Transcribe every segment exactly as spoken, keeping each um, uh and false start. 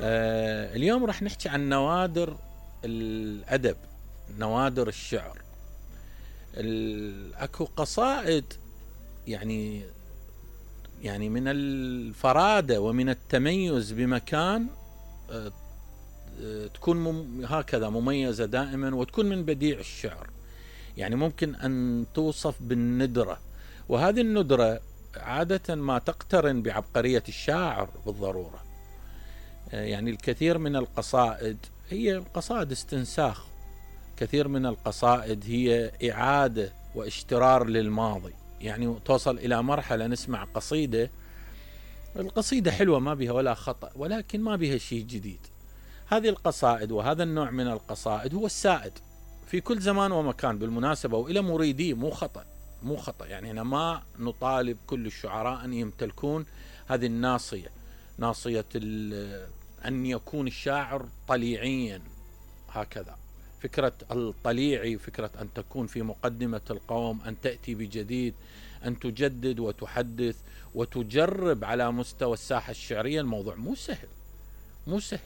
آه اليوم راح نحكي عن نوادر الأدب، نوادر الشعر. اكو قصائد يعني يعني من الفرادة ومن التميز بمكان آه تكون مم هكذا مميزة دائما، وتكون من بديع الشعر، يعني ممكن أن توصف بالندرة، وهذه الندرة عادة ما تقترن بعبقرية الشاعر بالضرورة. يعني الكثير من القصائد هي قصائد استنساخ، كثير من القصائد هي إعادة واشترار للماضي، يعني توصل إلى مرحلة نسمع قصيدة، القصيدة حلوة ما بها ولا خطأ، ولكن ما بها شيء جديد. هذه القصائد وهذا النوع من القصائد هو السائد في كل زمان ومكان بالمناسبة، وإلى مريديه، مو خطأ مو خطأ يعني أنا ما نطالب كل الشعراء أن يمتلكون هذه الناصية، ناصية أن يكون الشاعر طليعيا هكذا. فكرة الطليعي فكرة أن تكون في مقدمة القوم، أن تأتي بجديد، أن تجدد وتحدث وتجرب على مستوى الساحة الشعرية. الموضوع مو سهل مو سهل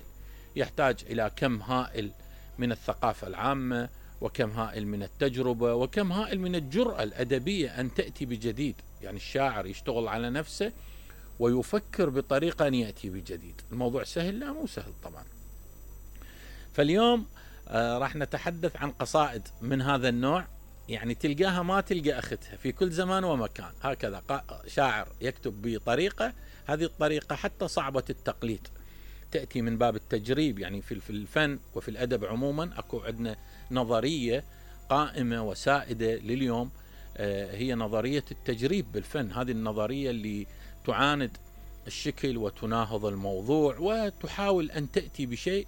يحتاج إلى كم هائل من الثقافة العامة، وكم هائل من التجربة، وكم هائل من الجرأة الأدبية أن تأتي بجديد. يعني الشاعر يشتغل على نفسه ويفكر بطريقة أن يأتي بجديد. الموضوع سهل؟ لا، مو سهل طبعا. فاليوم آه راح نتحدث عن قصائد من هذا النوع، يعني تلقاها ما تلقى أختها في كل زمان ومكان. هكذا شاعر يكتب بطريقة، هذه الطريقة حتى صعبة التقليد، تأتي من باب التجريب. يعني في الفن وفي الأدب عموما أكو عندنا نظرية قائمة وسائدة لليوم، آه هي نظرية التجريب بالفن. هذه النظرية اللي تعاند الشكل وتناهض الموضوع، وتحاول أن تأتي بشيء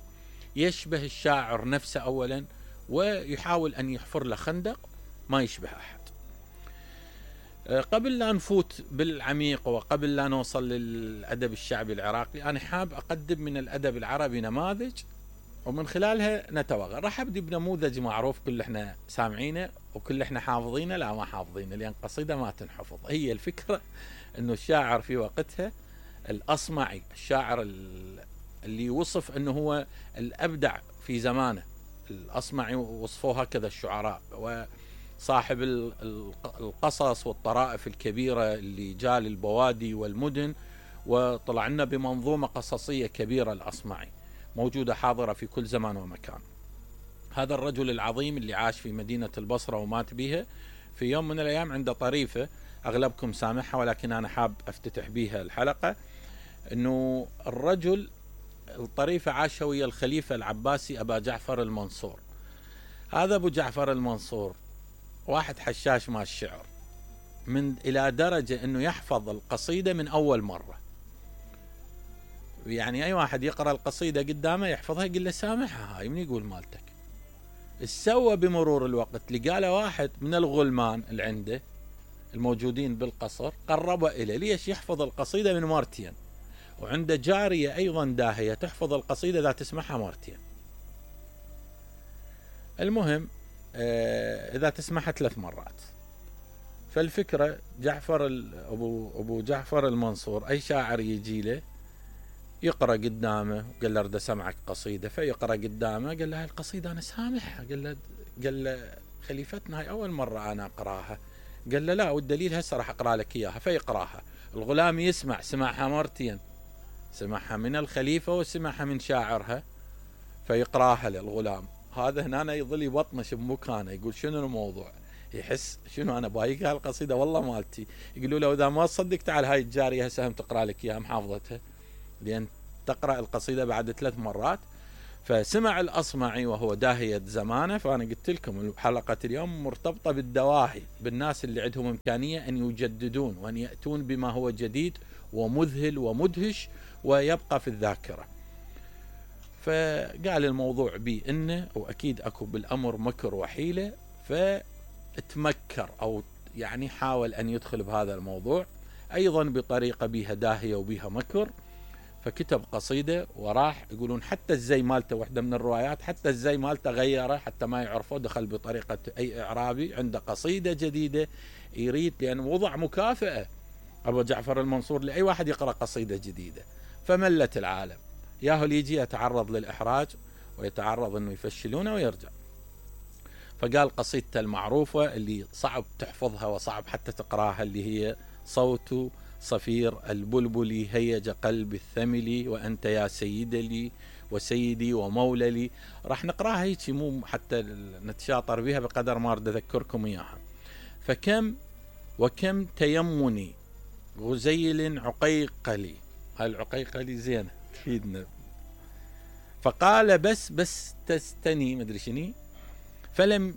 يشبه الشاعر نفسه أولا، ويحاول أن يحفر له خندق ما يشبه أحد. قبل لا نفوت بالعميق وقبل لا نوصل للأدب الشعبي العراقي، أنا حاب أقدم من الأدب العربي نماذج ومن خلالها نتوغل. راح أبدي بنموذج معروف كل احنا سامعينه وكل احنا حافظينه، لا ما حافظينه لأن قصيدة ما تنحفظ. هي الفكرة أنه الشاعر في وقتها الأصمعي، الشاعر اللي وصف أنه هو الأبدع في زمانه، الأصمعي وصفوه هكذا الشعراء، وصاحب القصص والطرائف الكبيرة اللي جاء للبوادي والمدن وطلع لنا بمنظومة قصصية كبيرة. الأصمعي موجودة حاضرة في كل زمان ومكان. هذا الرجل العظيم اللي عاش في مدينة البصرة ومات بها، في يوم من الأيام عنده طريفة أغلبكم سامعها ولكن أنا حاب أفتتح بها الحلقة، أنه الرجل الطريفة عاش ويا الخليفة العباسي أبا جعفر المنصور. هذا أبو جعفر المنصور واحد حشاش مع الشعر، من إلى درجة أنه يحفظ القصيدة من أول مرة. يعني أي واحد يقرأ القصيدة قدامه يحفظها، يقول له سامحها هاي من يقول مالتك. السوى بمرور الوقت لقى له واحد من الغلمان اللي عنده الموجودين بالقصر، قربه إليه ليش يحفظ القصيدة من مرتين، وعنده جارية أيضا داهية تحفظ القصيدة إذا تسمعها مرتين. المهم آه إذا تسمعها ثلاث مرات. فالفكرة جعفر أبو, أبو جعفر المنصور أي شاعر يجي له يقرأ قدامه، قال له أريد أسمعك قصيدة، فيقرأ قدامه، قال له هاي القصيدة أنا سامحها، قال له قال له خليفتنا هاي أول مرة أنا أقرأها، قال له لا والدليل هسه راح أقرأ لك إياها. فيقرأها، الغلام يسمع، سمعها مرتين، سمعها من الخليفة وسمعها من شاعرها، فيقراها للغلام. هذا هنا يظل يبطنش بمكانه، يقول شنو الموضوع، يحس شنو أنا بايق هالقصيدة والله مالتي. يقولوا له إذا ما تصدق تعال هاي الجارية هسه هم تقرأ لك إياها محافظتها، لأن تقرأ القصيدة بعد ثلاث مرات. فسمع الأصمعي وهو داهية زمانه. فأنا قلت لكم حلقة اليوم مرتبطة بالدواهي، بالناس اللي عندهم إمكانية أن يجددون وأن يأتون بما هو جديد ومذهل ومدهش ويبقى في الذاكرة. فقال الموضوع بي إنه وأكيد أكو بالأمر مكر وحيلة، فتمكر أو يعني حاول أن يدخل بهذا الموضوع أيضا بطريقة بيها داهية وبيها مكر. فكتب قصيدة وراح، يقولون حتى الزي مالته، واحدة من الروايات حتى الزي مالته غيره حتى ما يعرفه، دخل بطريقة أي إعرابي عنده قصيدة جديدة يريد، لأن وضع مكافأة أبو جعفر المنصور لأي واحد يقرأ قصيدة جديدة. فملت العالم، ياهو اللي يجي يتعرض للإحراج ويتعرض أنه يفشلونه ويرجع. فقال قصيدته المعروفة اللي صعب تحفظها وصعب حتى تقراها، اللي هي صوت صفير البلبل هيج قلب الثمل وأنت يا سيد لي وسيدي ومولى لي. راح نقراها هيك مو حتى نتشاطر بها بقدر ما أريد أذكركم إياها. فكم وكم تيمني غزيل عقيقلي، هاي العقيقلي زينة تفيدنا. فقال بس بس تستني مدري شني، فلم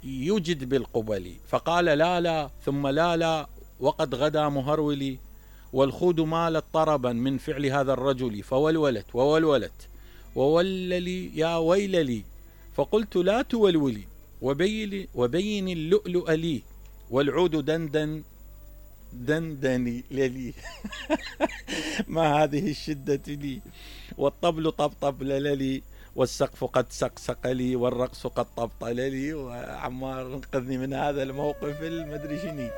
يجد بالقبل، فقال لا لا ثم لا لا وقد غدا مهرولي، والخود مالت طربا من فعل هذا الرجل، فولولت وولولت ووللي يا ويللي، فقلت لا تولولي وبين, وبين اللؤلؤ لي، والعود دندن دندني للي ما هذه الشدة لي، والطبل طبطب للي، والسقف قد سقسق لي، والرقص قد طبطل لي. وعمار انقذني من هذا الموقف المدري شني.